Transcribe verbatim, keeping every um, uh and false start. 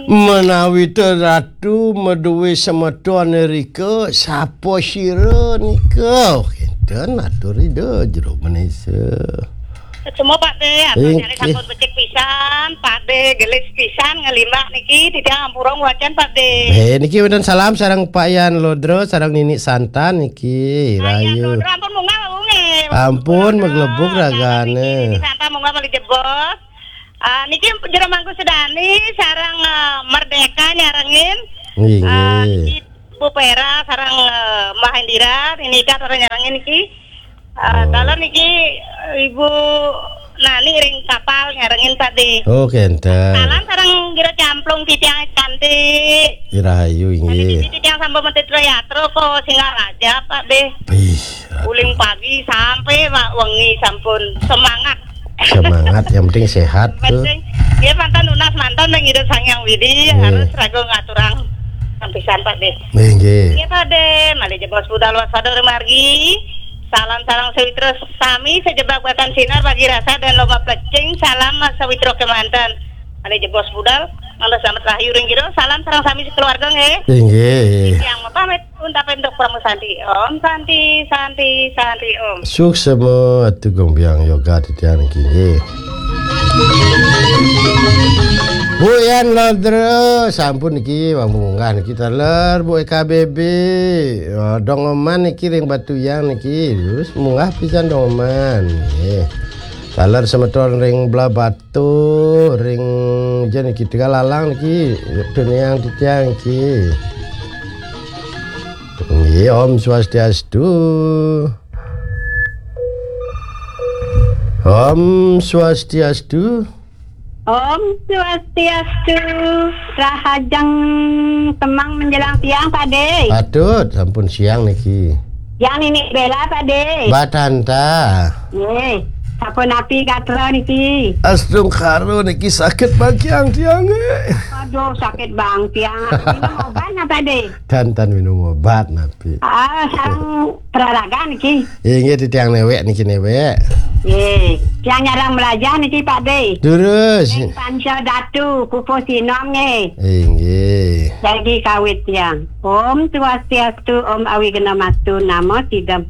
Menawi to Ratu madué semeton rika, sapa sira nika? Kinten atur Ida Jero Manisa. Semua Pak De, atur nyari sampun becik pisan, Pak De gelis pisan ngelimbak niki, titiang ampura ngwacén Pak De. Eh, niki wénten salam sareng Pak Yan Lodro, sareng Nini Santan niki. Pak Yan Lodro, ampun munggah, Pak, nggih. Ampun, maglebug ragane. Nini Santan munggah malih jebos. Ah, niki Jero Mangku Sedani sareng, eh, Merdeka nyarengin. Inggih. Ah, niki Bu Pera sareng, eh, Mbah Indira, niki sareng nyarengin niki. Ah, oh. Taler niki, eh, Ibu Nani ring Kapal nyarengin Pak De. Oh, kenten. Salam sareng Jero Camplung titiang cantik. Irahayu, inggih. Titiang sampun Metri Yatra kok Singaraja Pak De. Ih, uling pagi sampai Pak wengi sampun semangat. Semangat, yang penting sehat, tuh. Penting, nggih, mantan nunas mantan ring Ida Sang Hyang Widi, harus ragu ngaturang sampisan, Pak De. Nggih, nggih. Nggih, Pak De, malih jebos budal waspada ring margi. Salam sareng sawitra sami sajebag batan sinar bagi rasa dan loba plecing. Salam sawitra kemanten. Malih jebos budal, mangda selamat rahayu ring Ida. Salam sareng sami sekeluarga, nggih. Inggih. Yang pamit. Untapen untuk Pramu Santi. Om Santi, Santi, Santi, Om. Suksema Atu Gombiang Yoga titiang niki nggih. Bu Yan Lodro sampun niki, wah, munggah niki taler Bu E K B B. Oh, Dongoman niki ring Batuyang niki. Terus munggah pisan Dongoman. Nggih. Taler semeton ring Blahbatuh, ring jen niki Tegalalang niki, tuniang titiang niki. Nggih, Om Swastiastu. Om Swastiastu. Om Swastiastu. Rahajeng semeng menjelang siang, Pak De. Patut, sampun siang niki. Yang Nini Bela, Pak De. Batanta. Nggih. Sapunapi gatra niki? Astungkara niki sakit bangkiang tiange. Aduh, sakit bangkiang. Minum obat napa, De? Tan, tan minum obat napi. Ah, sareng praraga niki. Inggih, titiang newek niki newek. Nggih, tiang nyarang melajah niki, Pak De. Terus. Ring Panca Datu, Kupo Sinom nggih. Inggih. Jagi kawit tiang. Om Swastiastu, Om Awighnamastu, Namo Sidam.